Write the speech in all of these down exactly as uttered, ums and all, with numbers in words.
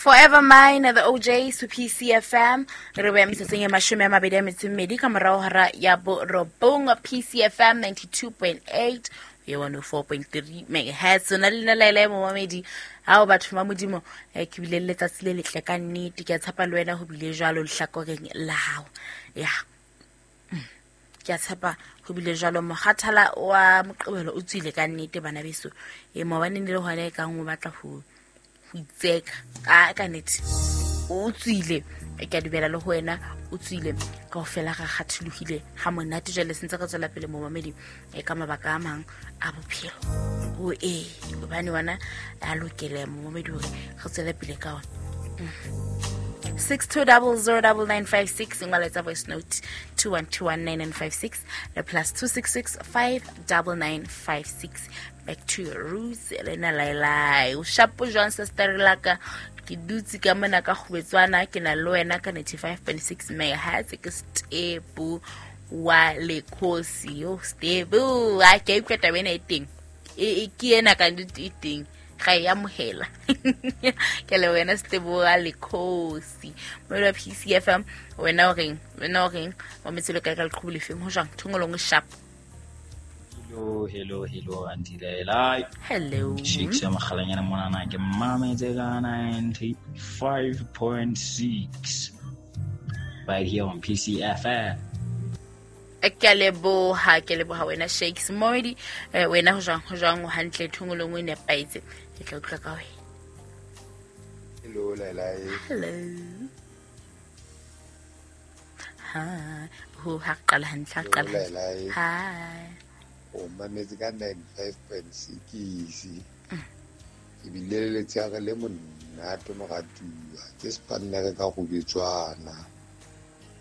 Forever Mine, the O Js to P C F M. Re beya metsotsong e mashome a mabedi a metso e mmedi ka morao hora ya borobong. P C F M ninety-two point eight, ye one oh four point three megahertz. Ona le nna Laila e momamedi. Hao batho ba Modimo, eh, ke bile le letsatsi le letle ka nnete. Ke a tshepa le wena ho bile jwalo lehlakoreng la hao. Ya. Ke a tshepa ho bile jwalo. Mokgathala wa Moqebelo o tswile ka nnete bana beso. E maobane ne le hona e kang o batla ho ho itseka. A ka nnete o tswile. Ke a dumela le ho wena o tswile. Kaofela re kgatholohile ha monate. Jwale se ntse re tswela pele momamedi, e ka mabaka a mang a bophelo. O e hobane wena a lokele momamedi hore re tswele pele ka ona. Mm. six two double zero double nine five six, ngwaletsa voice note two one two one nine nine five six le plus two six six five double nine five six. Back to your roots, Elena Lailai. O shapo jwang sister laka? Ke dutse ka mona ka kgobetswana, ke na le wena ka ninety-five point six megahertz. Ke Stebu wa Lekhosi. Yo Stebu, a ke utlwa taba ena e teng. E, e ke ena ka nnete e teng. Ga e amohela. Ke le wena Stebu wa Lekhosi. Mo P C F M, wena o reng? Wena o reng? Wa metselo ka ka leqhubu lefeng ho jwang? Thongolong o sharp. Hello, hello, hello, Auntie Laila. Hello. Shakes ya makgalanyana monana ke mametse ka ninety-five point six right here on P C F M. Ke a leboha, ke a leboha wena Shakes. Moedi, eh, wena ho jwang, ho jwang o hantle thongolong o nepahetse. Ke tla utlwa ka wena. Hello, Laila. Hello. Ha, ho ha qala hantle, ha qala Hello, hantle. Laila. Hi. O mametse ka ninety-five point six. Ke bile le letsheare le monate moratuwa. Ke spannere ka kgubetswana.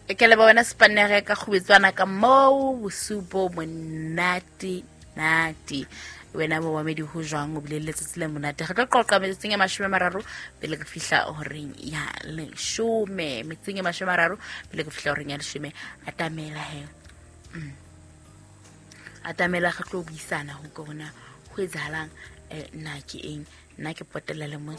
Ke leboha wena spannere ka kgubetswana ka moo bosiu bo monate nate. Wena momamedi ho jwang o bile le letsatsi le monate. Re tlo qoqa metsotsong e mashome a mararo pele re fihla horeng ya leshome. Metsotsong e mashome a mararo pele re fihla horeng ya leshome. Atamela he. Mm. Atamela re tlo buisana ho ka hona ho etsahalang, eh, nna ke eng, nna ke potela le mona.